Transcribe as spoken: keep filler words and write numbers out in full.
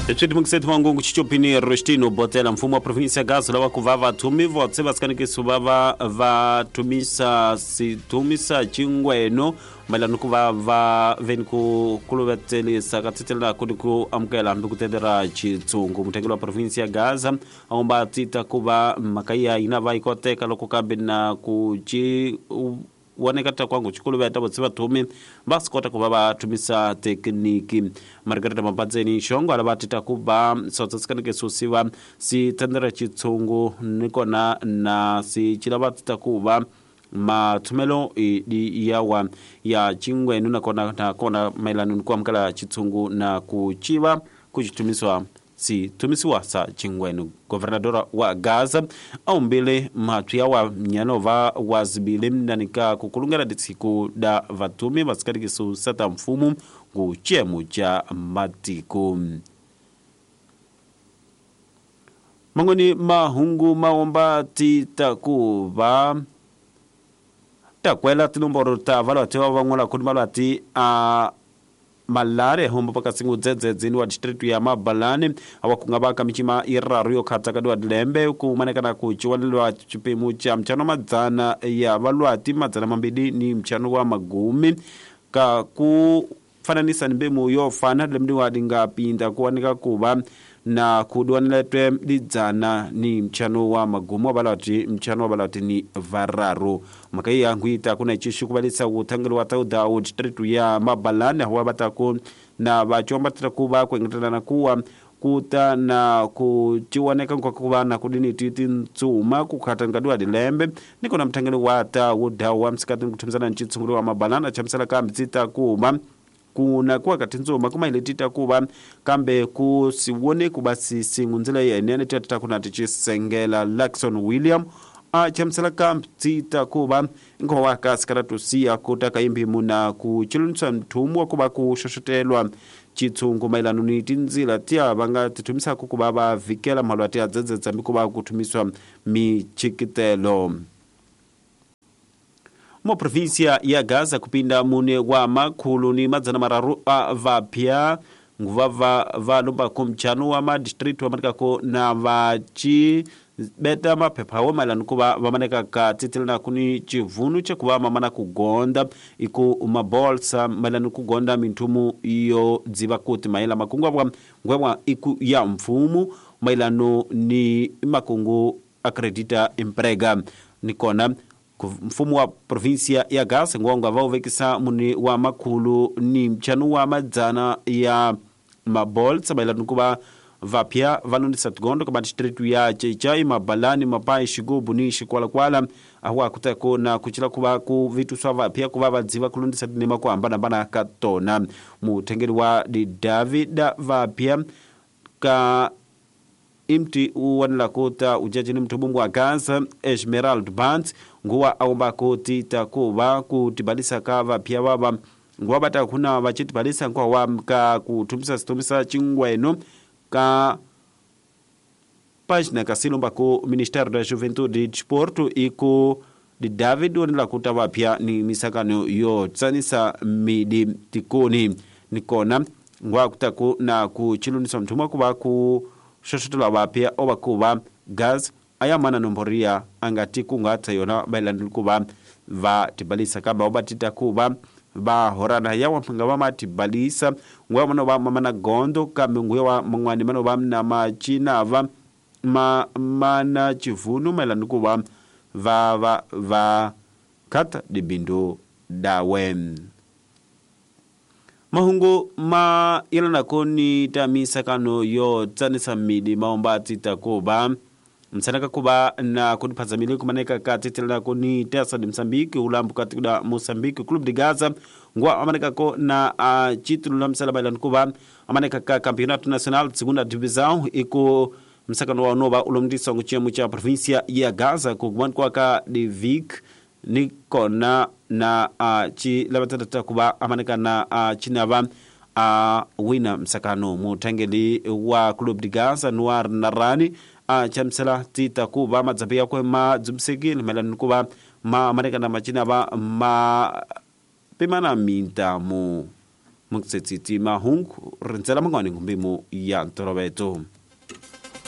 Tswidimukiseti mangungu chichopini Rostino Botela mfumo wa provinsi ya Gaza lava ku va vathumi votse vasikanikiso va va va thumisa sithumisa chingweno mayelana ku va va veni ku kuluvetselisa ka tsitelela ku ku amukela hambi ku tendera chitsungu muthengeli wa provinsi ya Gaza a omba tita ku va mhaka ya yina va yi koteka loko kambe na ku ci woneka ta kwangu chikuluveta votse vathumi va swi kota ku va va thumisa thekiniki Margareta Mabatseni Xongo ala va tita ku va sotsa susiwa si tendera chitsungu ni kona na si chila va tita ku va mathumelo yawa ya chingwenu na kona na kona mayelana ni ku amukela chitsungu na ku chiva ku chithumiswa si thumisiwa sa chingwenu governadora wa Gaza aumbile mathu wa nyanova wa zibile mnanika kukulungela ditsiku da vatumi vasikarikiso sata mfumu ku chemu cha matiko mangoni mahungu maomba titakuva takwela tinomboro ta valwati va van'wana kuni valwati a malare hombo pakasingu dzedzedzini wa district ya Mabalani awa kunga ka michima iraru yo khatsa ka dilembe ku manekana ku chiwalelwa chipemu cha mchano madzana ya valwati madzana mambili ni mchano wa magumi ka ku fananisa ni mbemu yo fana lemdi wa dinga pinda kuwanika kuva na kuduaniletwe lidzana ni mchano wa magumu wa balati mchano wa balati ni vararu makai ya nguita kuna chishu kubalisa utangelo wa tauda u district ya Mabalani huwa bataku na bachomba titakuba kuengetana na kuwa kuta na kuchiwaneka kwa kuba na kudini titi ntsuma kukhatangadwa dilembe niko na mtangelo wa tauda wa msikati kutumzana nchitsungulu wa Mabalani chamsala kamtsita kuba kuna kuwa katinzoma kuma ile tita kuba kambe ku siwone kuba singunzela yenene tata kuna tichisengela Lakson William a chamsela kamp tita kuba ngowa kasikara tusia kutaka imbi muna kuchilunsa mtumwa kuba kushoshotelwa chitsungu mailano ni tinzila tia banga titumisa kukuba ba vikela malwati adzedzedza mikuba kutumiswa michikitelo mo provincia ya Gaza kupinda mune wa makhulu ni madzana mararu a vapya nguva va va lomba kumchano wa ma district wa manikako na vachi beta maphepha wo mailano kuva vamaneka ka titelana kuni chivunu chekuva mamana kugonda iku mabolsa mailano kugonda minthumu iyo dziva kuti maila makungu abwa ngwebwa iku ya mfumu mailano ni makungu akredita emprega nikona mfumo wa provincia ya Gaza ngonga va uvekisa muni wa makhulu ni mchano wa madzana ya mabolsa mailano kuva vapya valondisa tigondo ka district ya Chechai Mabalani Mapai Xigubu ni Xikwalakwala awa kutako na kuchila kuva ku vitu swa vapya kuva vadziva kulondisa tinema ku hambanahambana ka tona muthengeli wa di David vapya ka imti uwanela kuta ujajini mthubungu wa Gaza Esmeralda Bant nguwa aomba kuti takuva kutibalisa ka vapya vava nguwa bata kuna vachitibalisa nguwa wa ka kuthumisa situmisa chingweno ka página kasilomba ku Ministério da Juventude e Desporto e ku di David wanela kuta vapya ni misakano yo tsanisa midi tikoni nikona nguwa kutaku na kuchilunisa mthumwa kuva ku xoxotela vapya ova kuva gas ayamana nomboria angati kungatsa yona bailandili kuva va tibalisa kamba obatita kuva va horana yawa mpinga va matibalisa nguya mano va mamana gondo kambe nguya wa man'wani mano va na machinava ma mana chivunu mailani kuva va va va kata dibindu dawe mahungu ma yelana koni tamisa kano yo tsanisa midi maomba tita kuba msanaka kuba na kudiphazamile kumaneka ka titelana koni tesa di Mozambique ulambu katika Mozambique Club de Gaza ngwa amaneka ko na uh, chitulo la msala bailani kuba amaneka ka Campeonato Nacional Segunda Divisão iko msakano wa nova ulomdisa nguchemu cha provincia ya Gaza kugwan kwa ka de Vic ni kona na uh, chi labatata kuba amaneka na uh, chinava a uh, wina msakano mutangeli wa Club de Gaza Noir Narani a uh, chamsela tita kuba madzapia kwe ma dzumsekile melani kuba ma amaneka na machinava ma pimana mintamu. Mukitsetsitsi mahungu rindzela mangwani ngumbimu ya ntoloveto.